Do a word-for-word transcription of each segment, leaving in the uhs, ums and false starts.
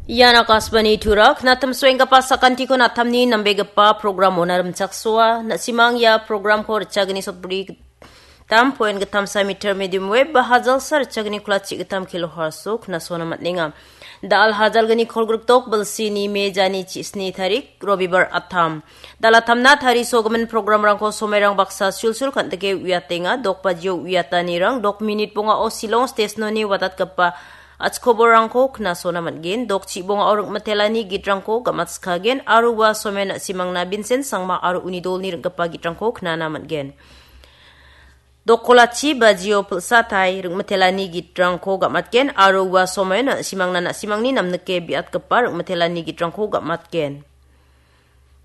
Ian Akashvani Tura, knatim suenggipa sakantiko natamni nambegipa program ona rimchaksoa. Na·simang ia programko richagni sotbri gittam point gittamsa meter medium wave ba hajalsa richagni kolachi gittam kilohertz-o knasona man·enga. Da·al hajalgni kolgrikdok bilsini me jani chisni tarik, Robibar atam. Dalatamna tarisogimin programrangko somairang baksa sulsul kan·dike uiatenga. Dok bajio uiatanirang dok minit bongao Shillong stesnoni watatgipa achikoborrangko knasona man·gen. Dok chibongao ringmitelani gitrangko gamatskagen aro ua somen na·simangna Vincent Sangma aro uni dolni ring·gipa gitrangko knana man·gen. Dok kolachi bajio pilsatai ringmitelani gitrangko gamatgen aro ua somen na·simangna na·simangni namnike biatgipa ringmitelani gitrangko gamatgen.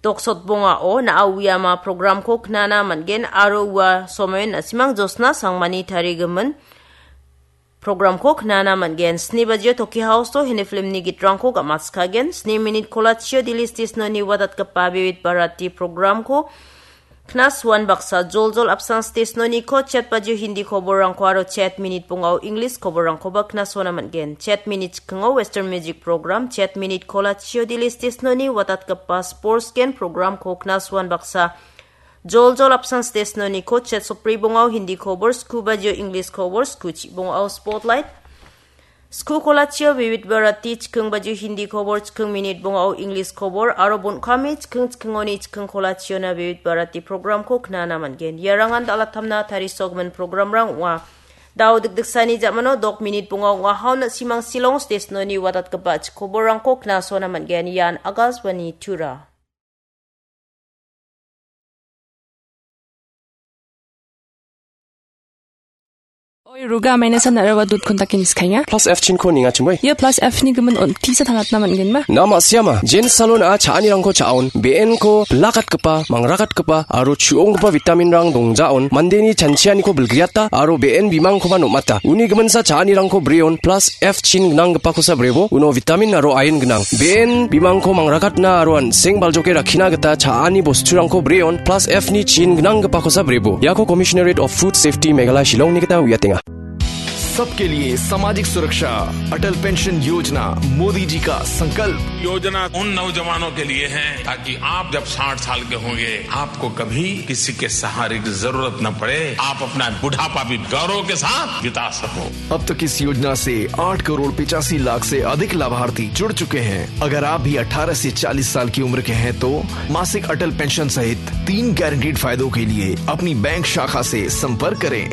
Dok sotbongao na·a uiama programko knana man·gen aro ua somen na·simang Josna Sangmani tarigimin programko knana man·gen. Sni bajio Toki House-o Hindi filmni gitrangko gamatskagen. Sni minit kolachio Delhi stesnoni watatgipa Vividh Bharati programko knasuan baksa joljol apsan stesnoniko chet bajio Hindi koborrangko aro chet minit bongao English koborrangkoba knasona man·gen. Chet minit chikingo Western Music Program, chet minit kolachio Delhi stesnoni watatgipa Sports Gen programko knasuan baksa joljol apsan stesnoniko chet sopri bongao Hindi kobor, sku bajio English kobor, sku chibongao Spotlight, sku kolachio Vividh Bharati, chiking bajio Hindi kobor, chiking minit bongao English kobor, aro bon·kame chiking chikingoni chiking kolachiona Vividh Bharati programko knana man·gen. Iarangan dalatamna tarisogimin programrang ong·a. Dao dikdiksani jamano dok minit bongao ong·a. Haun na·simang Shillong stesnoni watatgipa chikoborrangko knasona man·gen. Ian Akashvani Tura. Oi, ruga maina san nara wa dut kontak in iskainga. Plus F chin ko ninga chimoi. Ia plus F ni gimin on tisa tangatna man·gen ma? Na ma·siama, Jen Salon a cha·anirangko cha·on, B N ko bilakatgipa, mangrakatgipa, aro chu·onggipa vitamin rang dongjaon, mandeni chanchianiko bilgriata, aro B N bimangkoba nom·ata. Uni giminsa cha·anirangko breon, plus F chin gnanggipakosa brebo, uno vitamin aro iron gnang. B N bimangko mangrakatna aro an·seng baljoke rakkina gita cha·ani bosturangko breon, plus F ni chin gnanggipakosa brebo. Iako Commissionerate of Food Safety Meghalaya Shillong ni gita uiatenga. सबके लिए सामाजिक सुरक्षा, अटल पेंशन योजना, मोदी जी का संकल्प। योजना उन नौजवानों के लिए है, ताकि आप जब साठ साल के होंगे, आपको कभी किसी के सहारे की जरूरत न पड़े, आप अपना बुढ़ापा भी गौरव के साथ बिता सको। अब तक इस योजना से आठ करोड़ पचासी लाख से अधिक लाभार्थी जुड़ चुके हैं। अगर आप भी अठारह से चालीस साल की उम्र के हैं, तो मासिक अटल पेंशन सहित तीन गारंटीड फायदों के लिए अपनी बैंक शाखा से संपर्क करें।